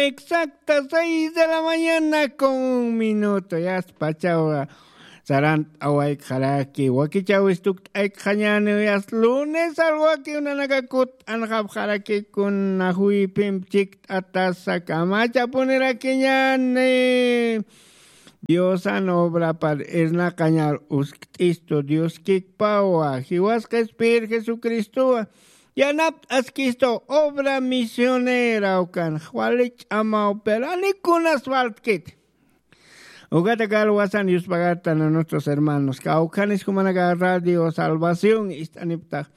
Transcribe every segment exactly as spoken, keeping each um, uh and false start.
Exacta seis de la mañana con un minuto. Yasta pachawa sarant'awaykxaraki, wakichäwis tukt'aykxañäni, yasta lunes alwakiw nanaka kutt'anxapxaraki kuna juyphimp chikt'atasa kamachapunirakiñäni. Diosan obrapar irnaqañar uskt'istu Dioskikpawa, jiwasqa Espir Jesucristowa, yanapt'askistu obra misionera ukan, wali ch'amaw, pero ani kunas faltkit. Ukata kalwasan yuspagartan a nuestros hermanos, kawkhanis jumanaka Radio Salvación ist'aniptax.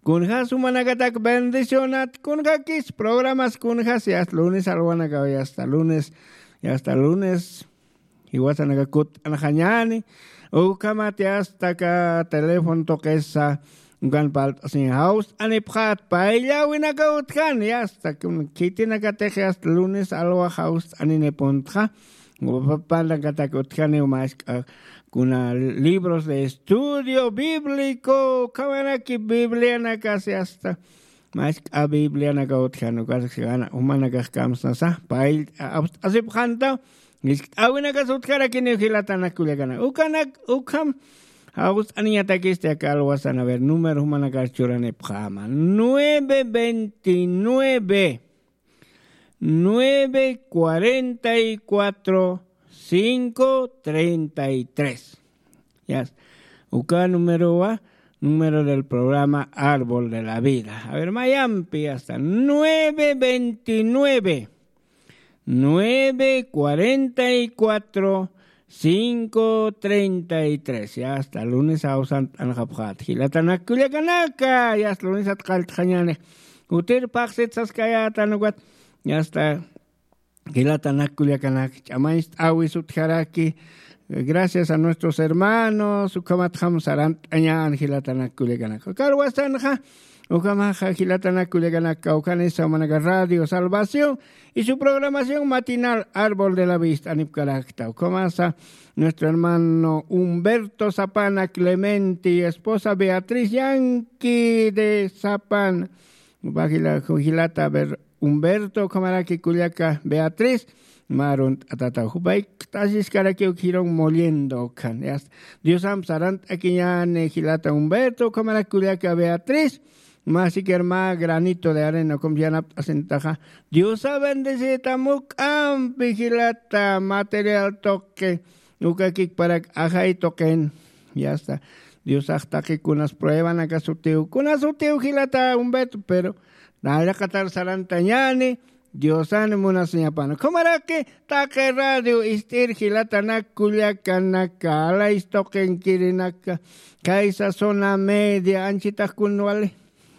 Kunjas jumanakatak bendicionat, kunjakis programas kunjas, yasta lunes alwanakaw, yasta lunes, yasta lunes. Jiwasanaka kutt'anxañäni, ukhamat yasta aka teléfono tuqisa, ukan palt'asiñ jawst'anipxät, payllawinaka utjani, yasta khitinakatix yasta lunes alwa jawst'aninipuntxa, panakatak utjani, mä jisk'a kuna libros de estudio bíblico, ukhamaraki Biblianakas yasta, mä jisk'a Biblianaka utjan, ukax jumanakax kamsnasa payllt'asipxäntaw, jiskt'äwinakas utjarakiniw jilatanak kullakanak. Ukanak, ukham jawst'aniñatakisti aka alwasan, a ver, número jumanakar churanipxäma. Nueve veintinueve, nueve cuarenta y cuatro, cinco treinta y tres. Ya. Uka númerowa, número del programa Árbol de la Vida. A ver, mayampi, yasta, nueve veintinueve, nueve cuarenta y cuatro, cinco treinta y tres. Yasta lunes jawsant'anxapxät, jilatanak kullakanaka, yasta lunesat qalltxañäni. Utir phaxsit saskayätan ukat, yasta jilatanak kullakanak, ch'amañcht'äwis utjaraki. Gracias a nuestros hermanos, ukhamatjam sarant'añän jilatanak kullakanak. Kalwasanxa, ukhamaxa jilatanak kullakanak, kawkhanisa jumanaka Radio Salvación y su programación matinal Árbol de la Vida ist'anipkarakta. Ukhamasa nuestro hermano Humberto Zapana Clemente y esposa Beatriz Yanqui de Zapana. Upa jila-, jilata, a ver, Humberto, ukhamaraki kullaka Beatriz, mä arunt'atataw. Jupaykt'asiskarakiw, uk jirun moliendo ukhan. Yasta. Diosamp sarant'akiñäni jilata Humberto, ukhamaraki kullaka Beatriz, mä siquiera mä granito de arena, ukham yanapt'asintaxa. Diosa bendecita, juk'ampi jilata material tuqi, ukakikparak ajay tuqin. Yasta. Diosax taqi kunas pruebanakas sutiw, kunas sutiw jilata Humberto, pero nayaqatar sarantañäni, Diosan munasiñapan. Ukhamaraki taqi radio ist'ir jilatanak kullakanaka, alays tuqinkirinaka, khaysa zona media, anchitax kun wali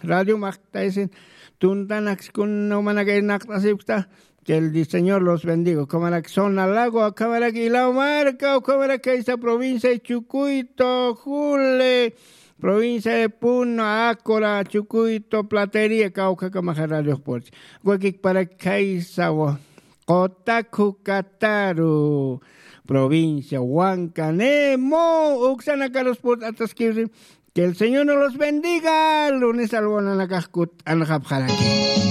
radio maqtaysin, tuntanaks kun umanaka irnaqt'asipkta, que el Señor los bendiga. Ukhamaraki zona Lago, ukhamaraki Ilao Marca, ukhamaraki khaysa provincia de Chucuito, Jule, provincia de Puno, Ácora, Chucuito, Platería, kawkhakamaxa radiox purchi. Ukakikparak khaysawa, Qotaku Kataru, provincia Huancanemo, uksanakarus purt'ataskiwsi. Que el Señor nos los bendiga. Lunes alwanakax kutt'anxapxaraki.